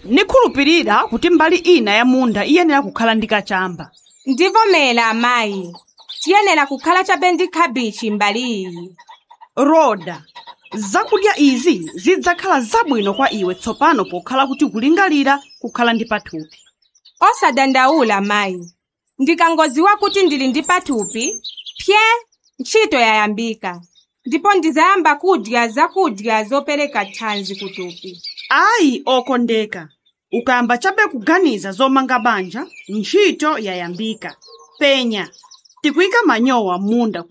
Nikhulupirira kuti mbali ina ya munda iyenera kukhala ndi kachamba. Ndivomera, amayi, tiyenera kukhala chabe ndi khabichi mbali iyi. Roda, zakudya izi zidzakhala zabwino kwa iwe tsopano pokhala kuti kulingalira kukhala ndi pathupi. Osadandaula, mayi, ndikangoziwa kuti ndili ndi pathupi pye ntchito yayambika, ndipo ndizayamba kudya zakudya zopereka thanzi kuthupi. Ayi, okondeka, ukayamba chabe kuganiza zomanga banja, ntchito yayambika. Penya, tikuyika manyowa m'munda.